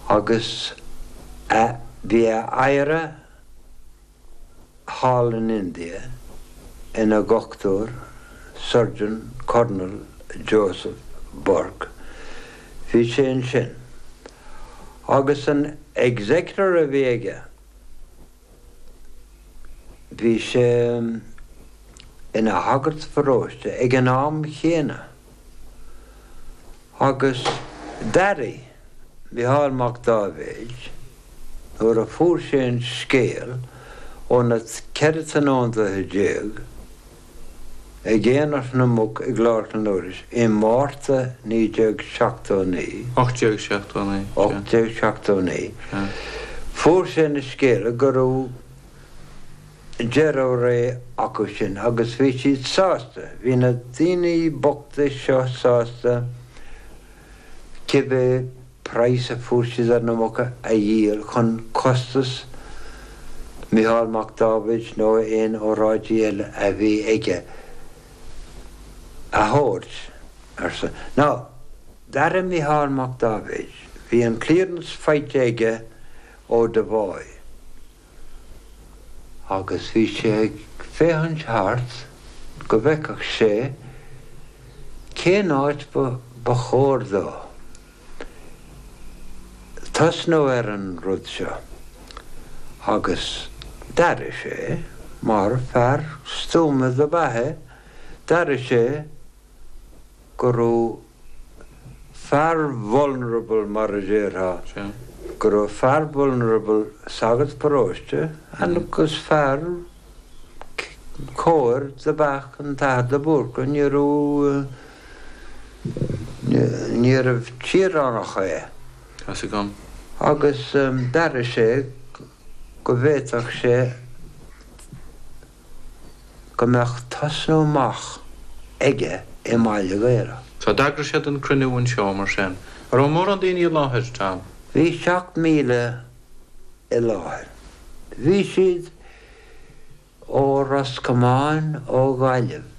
Agus a, bhí a oidhre thall in India ina dhochtúir, Surgeon Colonel Joseph Burke, bhí sé ansin. Agus an executor a bhí aige, Bhí sé ina shagart pharóiste ag an am chéanna agus d'airigh Micheál Mac Dáibhéid nuair a fuair sé an scéal ó na 14 tionóntaithe ag Aonach na Muc i gClár Chluain Dolcáin i Márta 1979. 1879. 1879. Fuair sé an scéala go raibh deireadh ré acu sin agus bhí siad sásta, bhí na daoine bochta seo sásta cibé praghas a fuair siad ar na muca a dhíol chun costas Micheál Mac Dáibhéid nó aon óráidí eile a bhí aige a thabhairt, arsa. Now, d'airigh Micheál Mac Dáibhéid, bhí an clearance faighte aige ó Devoy agus bhí sé ag féachaint thart go bhfeicfeadh sé cén áit ba chóir dó tosnú ar an rud seo agus d'airigh sé, mar fear stuama dob ea é, d'airigh sé go raibh fear vulnerable mar a déarfá, go raibh fear vulnerable, sagart paróiste agus fear cóir dob ea an tAthair de Búrca, ní raibh, níorbh tíoránach é. Tá's agam. Agus d'airigh sé go bhféadfadh sé go mbeadh tosnú amach aige i mBaile Ghaorthaidh. So d'eagraigh siad an cruinniú anseo mar sin. An raibh mórán daoine i láthair, Tom? Bhí 7,000 i láthair. Bhí siad ó Ros Comáin, ó Ghaillimh.